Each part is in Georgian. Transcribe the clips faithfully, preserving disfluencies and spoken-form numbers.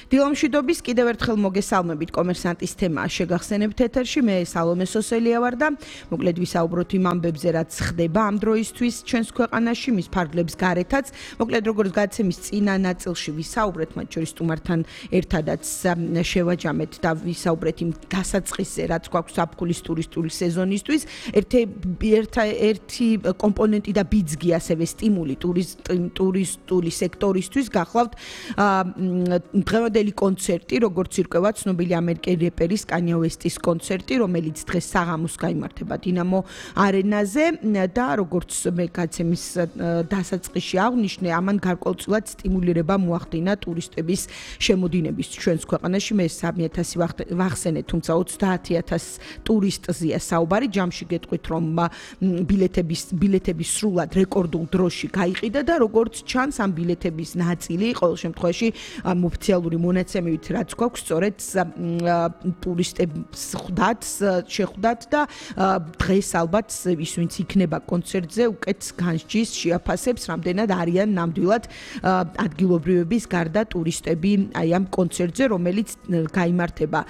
დილომშვიდობის კიდევ ერთხელ მოგესალმებით კომერსანტის თემა შეგახსენებთ ეთერში მე სალომე სოსელია ვარ და მოკლედ ვისაუბროთ იმ ამბებზე რაც ხდება ამ დროისთვის ჩვენს ქვეყანაში მის ფარგლებს გარეთაც მოკლედ როგორც გადაცემის წინა ნაწილში ვისაუბრეთ მათ შორის სტუმართან ერთადაც შევაჯამეთ და ვისაუბრეთ იმ დასაწყისზე რაც გვაქვს ზაფხულის ტურისტული სეზონისთვის ერთი ერთა ერთი კომპონენტი და ბიძგი ასევე სტიმული ტურისტული სექტორისთვის გახლავთ დღევანდელი კონცერტი, როგორც ირკვევა ცნობილი ამერიკელი რეპერის კანიე ვესტის კონცერტი, რომელიც დღეს საღამოს გაიმართება დინამო არენაზე და როგორც მე გაცემის დასაწყისში აღვნიშნე, ამან გარკვეულწილად სტიმულირება მოახდინა ტურისტების შემოდინების ჩვენს ქვეყანაში. მე სამი ათასი ვახსენე, თუმცა ოცდაათი ათასი ტურისტზეა საუბარი. ჯამში გეტყვით, რომ ბილეთების ბილეთების სრულად რეკორდულ დროში გაიყიდა და როგორც ჩანს, ამ ბილეთების ნაწილი ყოველ შემთხვევაში ოფიციალური მონაცემებით რაც გვაქვს, სწორედ ტურისტებს ხვდათ, შეხვდათ და დღეს ალბათ ის ვინც იქნება კონცერტზე, უკეთ განსჯის, შეაფასებს, რამდენად არიან ნამდვილად ადგილობრივების გარდა ტურისტები აი ამ კონცერტზე, რომელიც გაიმართება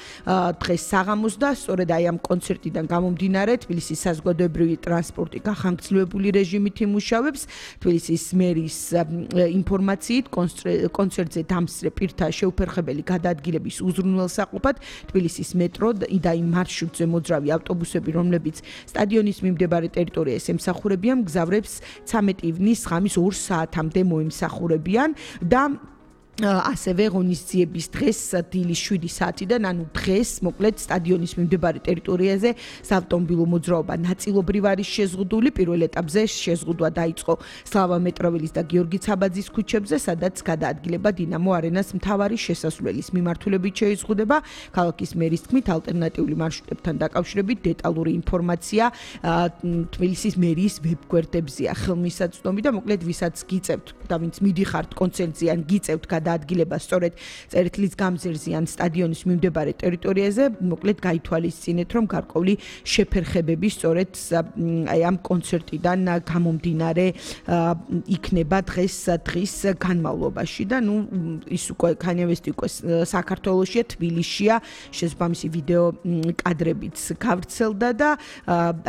დღეს საღამოს და სწორედ აი ამ კონცერტიდან გამომდინარე თბილისის საზოგადოებრივი ტრანსპორტი გახანგრძლივებული რეჟიმით იმუშავებს. თბილისის მერის ინფორმაციით კონცერტზე დამსწრე პირთა შეუფერხებელი გადაადგილების უზრუნველსაყოფად თბილისის მეტრო და იმ მარშრუტზე მოძრავი ავტობუსები, რომლებიც სტადიონის მიმდებარე ტერიტორიას ემსახურებიან, მგზავრებს ცამეტი ივნის ღამის ორ საათამდე მოიმსახურებიან და ასევე ღონისძიების დღეს დილის შვიდი საათიდან, ანუ დღეს მოკლედ სტადიონის მიმდებარე ტერიტორიაზე საავტომობილო მოძრაობა ნაწილობრივ არის შეზღუდული. პირველ ეტაპზე შეზღუდვა დაიწყო სლავა მეტროველის და გიორგი ცაბაძის ქუჩებზე, სადაც გადაადგილება დინამო არენას მთავარი შესასვლელის მიმართულებით შეიზღუდება. ქალაქის მერის თქმით, ალტერნატიული მარშრუტებთან დაკავშირებით დეტალური ინფორმაცია თბილისის მერიის ვებგვერდებზეა ხელმისაწვდომი და მოკლედ ვისაც გიწევთ და ვინც მიდიხართ კონცერტზე ან გიწევთ გადაადგილება სწორედ წერტილის გამზერზე ან სტადიონის მიმდებარე ტერიტორიაზე, მოკლედ გაითვალისწინეთ, რომ გარკვეული შეფერხებები სწორედ აი ამ კონცერტიდან გამომდინარე იქნება დღეს დღის განმავლობაში და ნუ ის უკვე კანიე ვესტი უკვე საქართველოშია, თბილისშია, შესაბამისი ვიდეო კადრებიც გავრცელდა და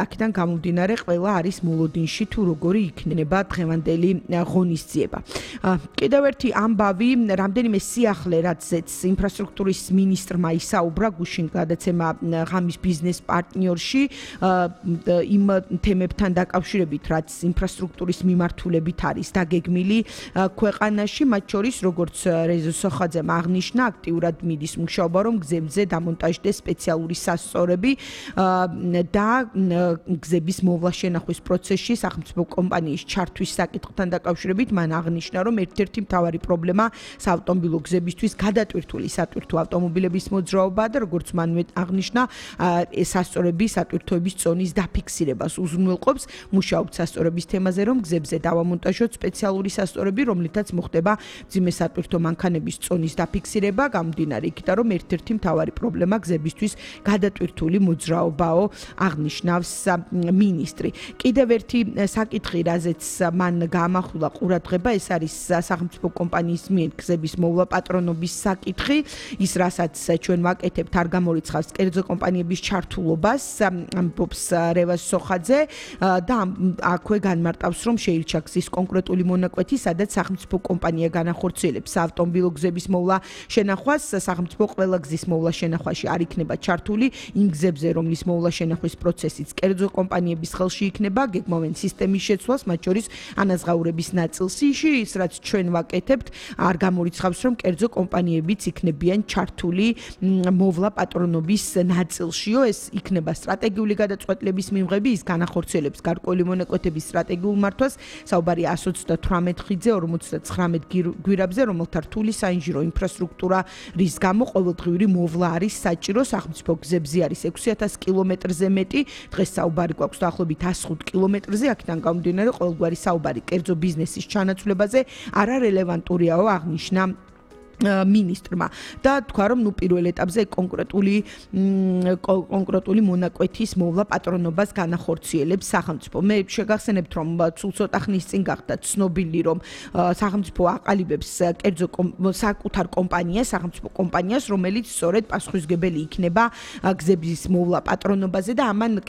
აქედან გამომდინარე ყველა არის მოლოდინში თუ როგორი იქნება დღევანდელი ღონისძიება. კიდევ ერთი ამბავი რამდენიმე სიახლე რაცაც ინფრასტრუქტურის მინისტრმა ისაუბრა გუშინ გადაცემა ღამის ბიზნეს პარტნიორში იმ თემებთან დაკავშირებით, რაც ინფრასტრუქტურის მიმართულებით არის დაგეგმილი ქვეყანაში, მათ შორის როგორც რეზო სოხაძემ აღნიშნა, აქტიურად მიდის მუშაობა, რომ გზებზე დამონტაჟდეს სპეციალური სასწორები და გზების მოვლა შენახვის პროცესში სახელმწიფო კომპანიის ჩართვის საკითხთან დაკავშირებით მან აღნიშნა, რომ ერთ-ერთი მთავარი პრობლემა საავტომობილო გზებისთვის გადატვირთული სატვირთო ავტომობილების მოძრაობა და როგორც მან აღნიშნა, სასწორები სატვირთოების წონის დაფიქსირებას უზრუნველყოფს. მუშაობთ სასწორების თემაზე, რომ გზებზე დავამონტაჟოთ სპეციალური სასწორები, რომლითაც მოხდება მძიმე სატვირთო მანქანების წონის დაფიქსირება, გამომდინარე იქიდან, რომ ერთ-ერთი მთავარი პრობლემა გზებისთვის გადატვირთული მოძრაობაო, აღნიშნავს მინისტრი. კიდევ ერთი საკითხი, რაზეც მან გაამახვილა ყურადღება, ეს არის სახელმწიფო კომპანიის მიერ გზების მოვლა პატრონობის საკითხი, ის რასაც ჩვენ ვაკეთებთ არ გამორიცხავს კერძო კომპანიების ჩართულობას, ამბობს რევაზ სოხაძე და აქვე განმარტავს, რომ შეირჩა გზის კონკრეტული მონაკვეთი, სადაც სახელმწიფო კომპანია განახორციელებს საავტომობილო გზების მოვლა შენახვას. სახელმწიფო ყველა გზის მოვლა შენახვაში არ იქნება ჩართული იმ გზებზე, რომლის მოვლა შენახვის პროცესიც კერძო კომპანიების ხელში იქნება, გეგმავენ სისტემის შეცვლას, მათ შორის ანაზღაურების ნაწილში, ის რაც ჩვენ ვაკეთებთ არ გამორიცხავს, რომ კერძო კომპანიებიც იქნებიან ჩართული მოვლა პატრონობის ნაწილშიო. ეს იქნება სტრატეგიული გადაწყვეტილების მიღები, ის განახორციელებს გარკვეული მონაკვეთების სტრატეგიულ მართვას. საუბარი ასი ოცდათვრამეტ ხიდზე, ორმოცდათხრამეტ გვირაბზე, რომელთა რთული საინჟირო ინფრასტრუქტურა რის გამო ყოველდღიური მოვლა არის საჭირო. სახელმწიფო გზებზე არის ექვსი ათასი კილომეტრზე მეტი, დღეს საუბარი გვაქვს დაახლოებით ასი ხუთი კილომეტრზე, აქედან გამომდინარე ყოველგვარი საუბარი კერძო ბიზნესის ჩანაცვლებაზე არარელევანტურიაო, აღნიშნა მინისტრმა და თქვა რომ ნუ პირველ ეტაპზე კონკრეტული კონკრეტული მონაკვეთის მოვლა პატრონობას განახორციელებს სახელმწიფო. მე შეგახსენებთ რომ სულ ცოტა ხნის წინ გახდა ცნობილი რომ სახელმწიფო აყალიბებს კერძო საკუთარ კომპანიას, სახელმწიფო კომპანიას, რომელიც სწორედ პასუხისმგებელი იქნება გზების მოვლა პატრონობაზე და ამან